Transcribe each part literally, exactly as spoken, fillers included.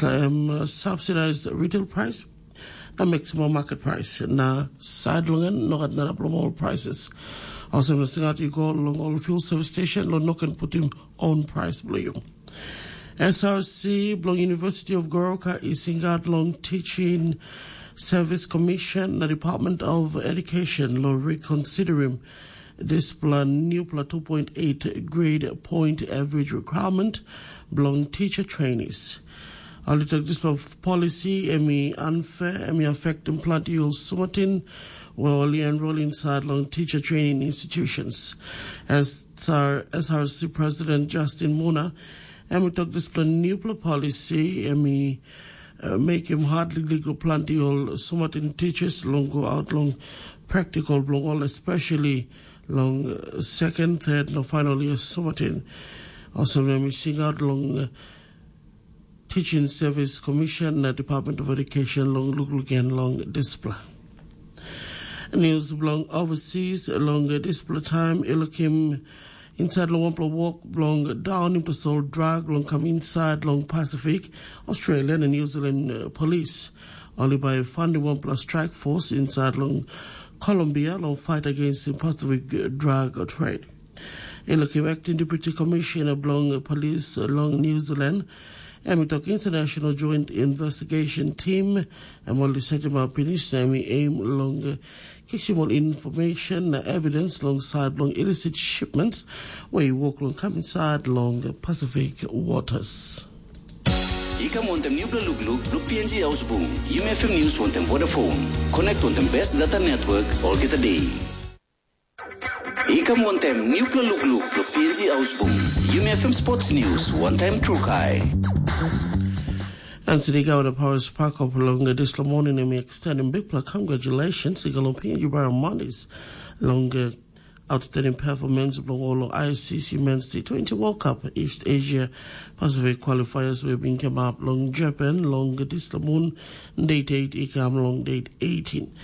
Em uh, subsidized retail price na maximum market price na side long en no gat narap long all prices. Olsem na singat i go long all fuel service station lo no ken putim own price bilong you. S R C bilong University of Goroka i singat long Teaching Service Commission na Department of Education lo reconsidering dispela newpela two point eight grade point average requirement bilong teacher trainees. Ol i tok dispela policy em i unfair, em i affectim planti ol sumatin we ol i enroll inside long teacher training institutions. SR, S R C President Justin Muna, em i tok dispela newpela policy em i uh, mekim hard liklik lo planti ol sumatin teachers long go out long practical bilong ol, especially long uh, second, third na final year sumatin. Olsem na mi singaut long uh, Teaching Service Commission na Department of Education long lukluk gen long dispela. News bilong overseas long uh, dispela time i lukim inside long wanpela wok bilong daunim tasol drag long kam inside long Pacific, Australia na New Zealand uh, police. Ol i bai fandim wanpela strike force inside long Colombia long fight against the Pacific drug trade. I lukim acting deputy commissioner bilong police long New Zealand, em i tok international joint investigation team em ol i setim up pinis na em i aim long kisim ol information na evidence long side bilong illicit shipments where i wok long kam inside long Pacific waters. I kam wantem nupela lukluk bilong P N G Ausbung, Yumi F M News wantem Vodafone. Connect wantem best data network olgeta day. I kam wantem nupela lukluk bilong P N G Ausbung, Yumi F M Sports News wantem Trukai. And today, Governor Paris Parkop long uh, this morning, and we extend a big congratulations to Galopin Jubara Mondis long uh, outstanding performance bilong ol I C C Men's T twenty World Cup East Asia Pacific qualifiers wey bin kamap long Japan long dispela mun, date eight i kam long date eighteen.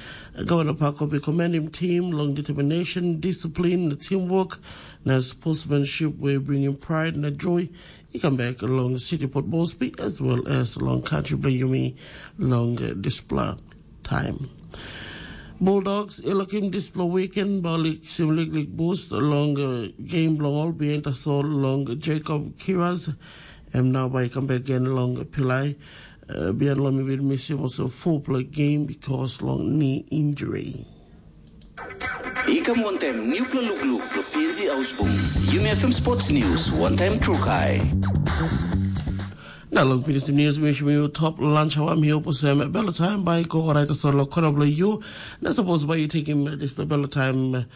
Governor Parkop i commend him team long determination, discipline, na teamwork, na sportsmanship wey bringim pride na joy i kam back long City Port Moresby as well as long country bilong yumi long dispela time. Bulldogs i lukim dispela weekend bai ol i kisim liklik boost long uh, game bilong ol bihain tasol long Jacob Kiras, em nau bai i kam bek gen long pilai. Uh, bihain long mi bin misim olsem fopela game because long knee injury. I kam wantem nupela lukluk bilong P N G Ausbung, Yumi F M Sports News, wantaim Trukai. Na long pinis news mi shim yu top lunch hawa mi hope sem belo time bai go orait so lo kono blo yu. Na suppose bai you take him this the belo time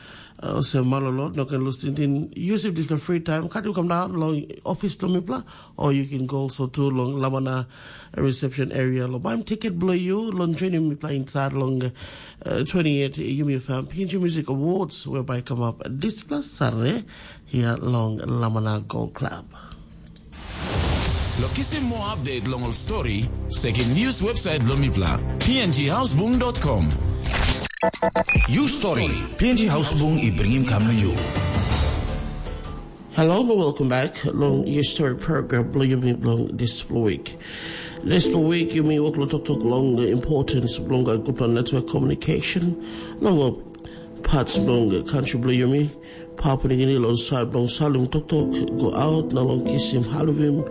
uh, sem malolo no can lose tintin. Use it this the free time. Cut you come down long office to mipla or you can go also to long lamana reception area lo baim ticket blo yu long joining mipla inside long uh, twenty-eight Yumi F M P N G Music Awards whereby come up this plus Saturday here long Lamana Gold Club. Lo kisim moa update long ol story, sekim news website bilong mipela, p n g housebung dot com. You story, P N G Housebung i bringim kam na you. Hello and welcome back long your story program bilong yumi bilong this week. This week yumi wok lo toktok long the importance bilong a group network communication long parts bilong country bilong yumi. Papua Nigini long sait bilong salim toktok go aut na long kisim halivim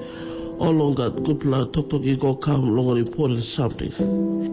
ol long gat gutpela toktok i go kam long ol important samting.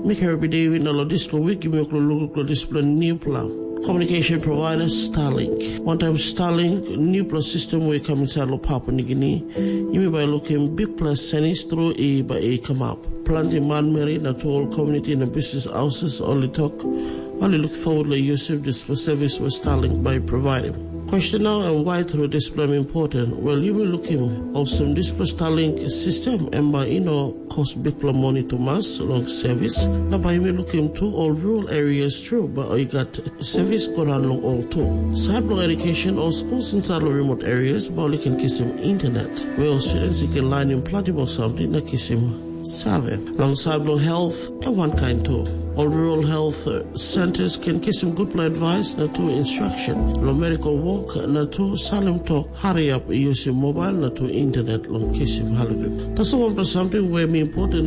Mi Karabi David na long dispela wik yumi ol lukluk long dispela newpela communication provider Starlink. Wantaim Starlink newpela sistem we i kam insait long Papua Nigini, yumi bai lukim bikpela senis tru i bai i kamap. Planti manmeri na tu ol komuniti na bisnis hauses ol i tok ol i luk forward long yusim dispela sevis we Starlink bai i provaidim. Question nau em wai tru dispela em important? Wel, yumi lukim olsem dispela Starlink sistem em bai i no kos bikpela moni tumas long sevis, na bai yumi lukim tu ol rural areas tru bai i gat sevis go raun long ol tu. Sait bilong edukeisin, ol skuls insait long remote areas bai ol i ken kisim internet, we ol students i ken lainim planti bilong samting na kisim save. Long sait bilong health, em wankain tu. Ol rural health centers ken kisim gutpela advice na tu instruction long medical work na tu salim tok hariap yusim mobile na tu internet long kisim halivim. Tasol wanpela samting we mi important